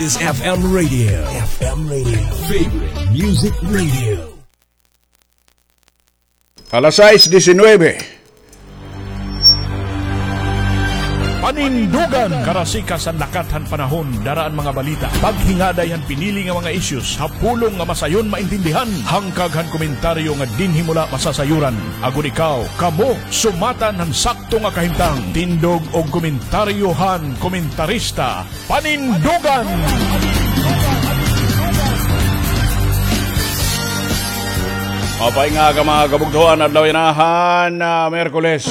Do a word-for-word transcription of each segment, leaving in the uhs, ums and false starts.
Is F M Radio. F M Radio. Favorite Music Radio. Alas sais disinuybe. Panindugan, karasikas han lakat han panahon, dara an mga balita, paghingaday han pinili nga mga issues, ha pulong nga masayon maintindihan, hangkag han komentaryo nga dinhi mo la masasayuran. Agod ikaw, kamo, sumatan han sakto nga kahimtang, tindog og komentaryo han komentarista. Panindugan! Maupay nga aga, mga kabugtoan, adlaw yana han, ah, Miyerkules,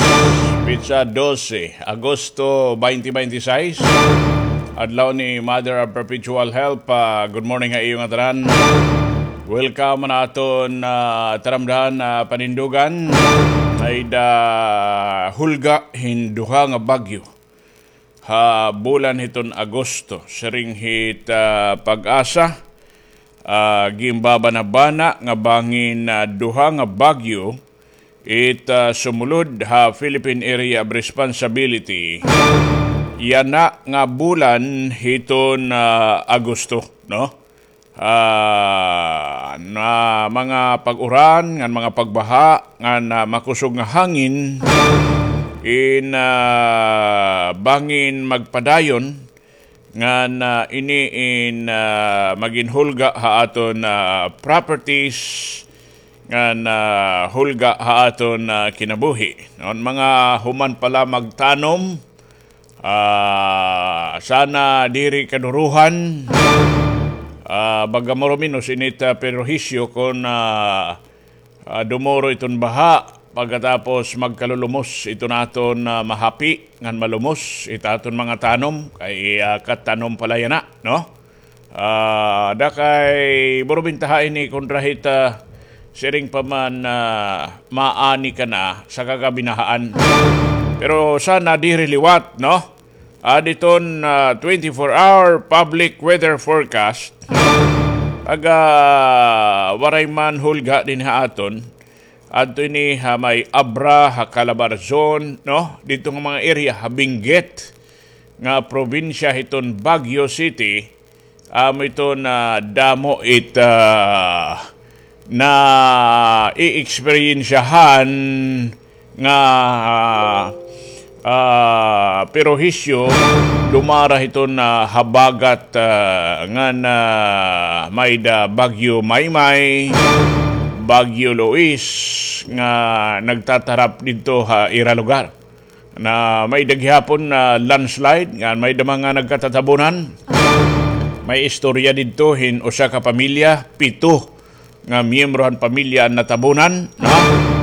petsa dose, Agosto twenty twenty-six. Adlaw ni Mother of Perpetual Help. Ah, good morning ha iyo ngatanan. Welcome han aton, ah, taramdahan, ah, panindugan. May-ada hulga hin duha nga bagyo ha bulan hiton Agosto. Siring hit, ah, PAGASA, ah, ginbabanabana nga bangin, ah, duha nga bagyo it, ah, sumulod ha Philippine Area of Responsibility yana nga bulan hiton, ah, Agosto, no? Ah, na mga pag-uran, ngan mga pagbaha, ngan, ah, makusog nga hangin, in, ah, bangin magpadayon, ngan, ah, ini in, ah, magin hulga ha aton, ah, properties, ngan, ah, hulga ha aton, ah, kinabuhi. Ngan mga human pa la magtanom, Ah, sana diri kaduruhan. Ah, baga maro menos init, ah, perhisyo kon, ah, ah, dumuro iton baha, pagkatapos magkalulumos iton aton, ah, mahapi ngan malumos it aton mga tanom, kay, ah, katanom pa la yana, no? Ah, da kay maro bintaha ini kontra hit, ah, siring pa man, ah, maani ka na saka ka binahaan. Pero sana diri liwat, no? Adi iton, ah, twenty-four hour public weather forecast. Pag, ah, waray man hulga dinhi ha aton, adto ini ha may Abra, ha Calabarzon, no? Didto nga mga area, ha Benguet nga probinsya hiton Baguio City, amo iton, ah, damo it, ah, naieksperiensyahan nga, ah, perhisyo, dumara hiton, ah, habagat, ah, ngan may-ada Bagyo Maymay, Bagyo Luis, nga nagtatarap didto ha ira lugar. Na may-ada gihapon nga landslide, nga may-ada mga nagkatatabunan. May istorya didto hin usa ka pamilya, pito nga miyembro han pamilya an natabunan, no?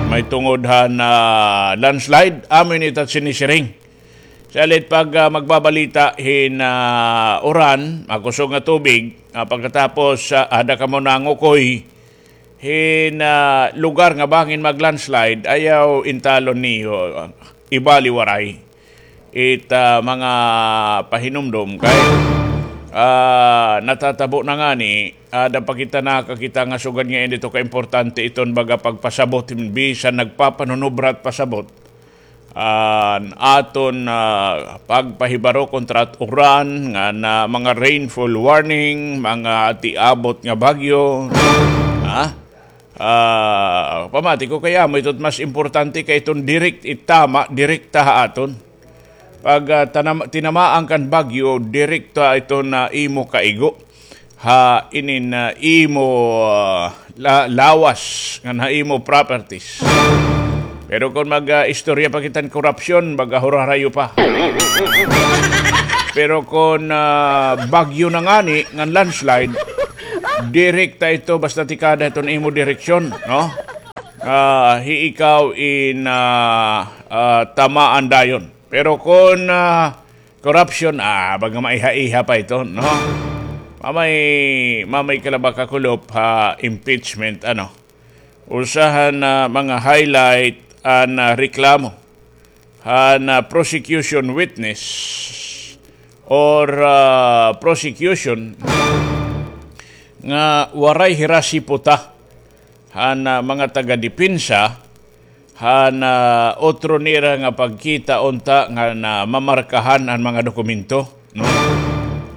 May tungod han, ah, landslide, amo ini it sinisiring. Salit pag, ah, magbabalita hin, ah, uran, makusog nga tubig, ah, pagkatapos, ah, ada kamo nangukoy, hin, ah, lugar nga bangin mag-landslide, ayaw intalon niyo, ibaliwaray it, ah, mga pahinumdom kay, ah, natatabo na ngani, ah, ada pa kita nakakita nga sugad nga indi ito kaimportante iton baga pagpasabot, bisan nagpapanunubra it pasabot. An aton, ah, pagpahibaro kontra it uran, ngan mga rainfall warning, mga tiabot nga bagyo, ha? Ah, pamati ko kay amo ito it mas importante kay iton direct, itama, direkta ha aton. Pag, ah, tanam-, tinamaan kan bagyo, direkta iton imo kaigo ha inin, ah, imo, ah, la-, lawas ngan ha imo properties. Pero kon mag, ah, istorya pa kita hin korupsyon, baga hurarayo pa. Pero kon, ah, bagyo na ngani ngan landslide, direkta ito basta tikada iton imo direksyon, no? Ah, hi ikaw in, ah, ah, tamaan dayon. Pero kon, ah, corruption, ah, baga maiha-iha pa ito, no? Mamay, mamay ka la ba kakulop ha impeachment, ano? Usa han mga highlight an, ah, reklamo han, ah, prosecution witness or, ah, prosecution nga waray hira siputa han, ah, mga taga-depensa han, ah, utro nira nga pagkita unta nga namamarkahan an mga dokumento, no?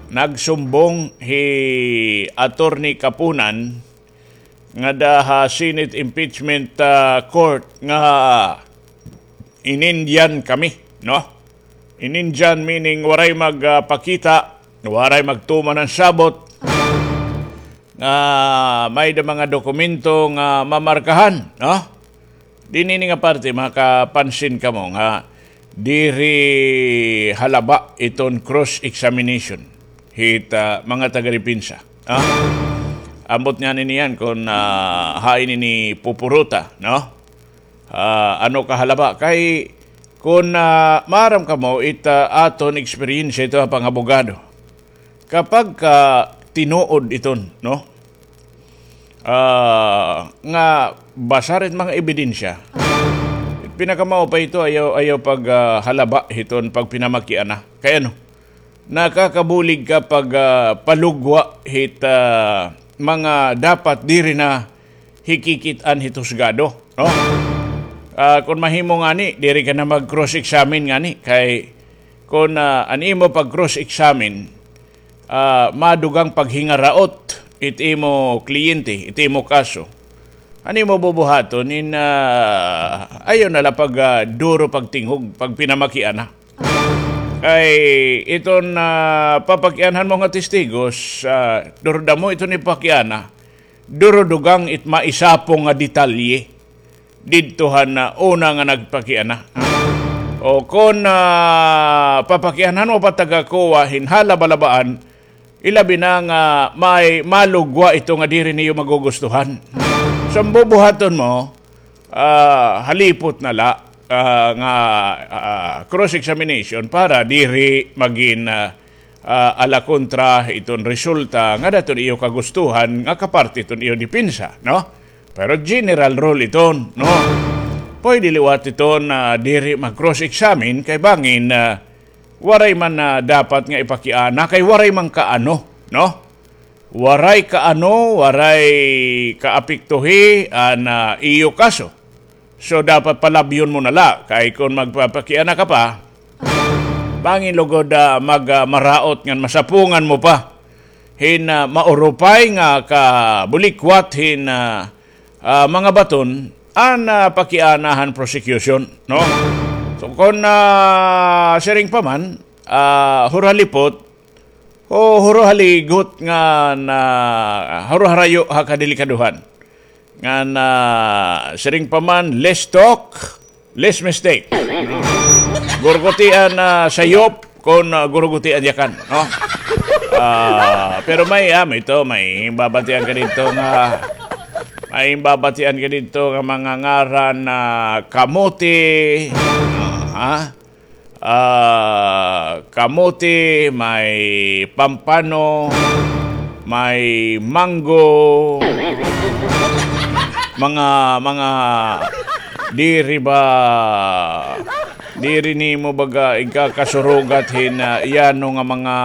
Nagsumbong hi Attorney Kapunan ngada ha Senate Impeachment, ah, Court nga inindyan kami, no? Inindyan meaning waray mag, ah, pakita, waray magtuman han sabot nga may-ada mga dokumento nga mamarkahan, no? Dinhi ini nga parte, makapansin kamo nga diri halaba iton cross-examination hit, ah, mga taga-depensa. Ah? Ambot ngani niyan kon, ah, hain ini pupuruta, no? Ah, ano kahalaba? Kay kon, ah, maaram kamo it, ah, aton eksperyensya ito ha pangabogado. Kapag ka tinuod iton, no? Ah, nga basar it mga ebidensya. Pinakamaupay ito, ayaw, ayaw pag, ah, halaba hiton pagpinamakiana. Kay ano? Nakakabulig ka pag, ah, palugwa hit, ah, mga dapat diri na hikikit-an hit husgado, no? Ah, kon mahimo ngani, diri ka na mag-cross-examine ngani kay kon, ah, an imo pag-cross-examine, ah, madugang paghingaraot it imo kliyente, it imo kaso. An imo bubuhaton in, ah, ayaw na la pag, ah, duro pagtinghog, pagpinamakiana. Kay iton, ah, papakianhan mo nga testigos, ah, duro damo iton ipakiana, duro dugang it maisapong nga detalye didto han, ah, una nga nagpakiana. O kon, ah, papakianhan mo pa taga-COA hin halaba-labaan, ilabi na nga may malugwa ito nga diri niyo magugustuhan. So, an bubuhaton mo, ah, halipot na la, ah, nga, ah, cross-examination para diri magin, ah, ah, ala kontra iton resulta nga daton iyo kagustuhan nga kaparte iton iyo depensa, no? Pero general rule iton, no? Pwede liwat iton na diri mag-cross-examine kay bangin, ah, waray man na dapat nga ipakiana kay waray man kaano, no? Waray kaano, waray kaapektuhi an, ah, iyo kaso. So, dapat palabyon mo na la, kay kon magpapakiana ka pa, bangin lugod, ah, mag, ah, maraot ngan masapungan mo pa hin, ah, maurupay nga kabulikwat hin, ah, ah, mga baton an, ah, pakiana han prosecution, no? So, kon, ah, siring pa man, ah, huro halipot, o huro haligot ngan, ah, huro harayo ha kadelikadohan. Ngan, ah, siring pa man, less talk, less mistake. Gurgutian, ah, sayop, kon, ah, gurgutian yakan, no? Ah, pero may, ah, may ito, may babatian ka didto nga, may babatian ka didto nga mga ngaran na kamote, ah, ha? Ah, kamote, may pampano, may mango, mga, mga diri ba, diri nimo baga igkakasurugat hin, ah, iyano nga mga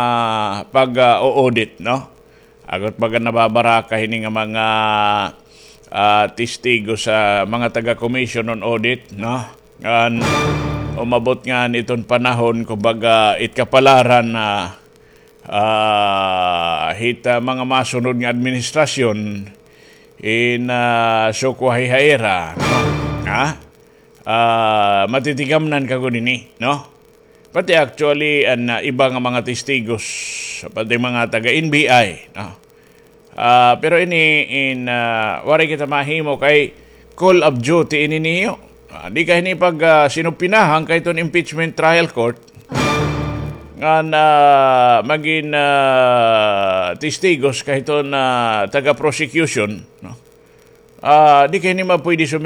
pag, ah, o-audit, no? Agot baga nababaraka hini nga mga, ah, testigo sa mga taga-Commission on Audit, no? Ngan umabot ngani iton panahon, kumbaga, it kapalaran na, ah, hit, ah, mga masunod nga administrasyon in, ah, sukwahi ha ira, no? Ha? Ah, matitigamnan ka gud ini, no? Pati actually, an, ah, iba nga mga testigos, pati mga taga-N B I, no? Ah, pero ini in, ah, waray kita mahimo kay call of duty ini niyo. Ah, di ka hini pag, ah, sinupinahang kay iton impeachment trial court. Ngan, ah, magin, ah, testigos kay iton, ah, taga-prosecution, no? Ah, di ka hini mapwede sumi-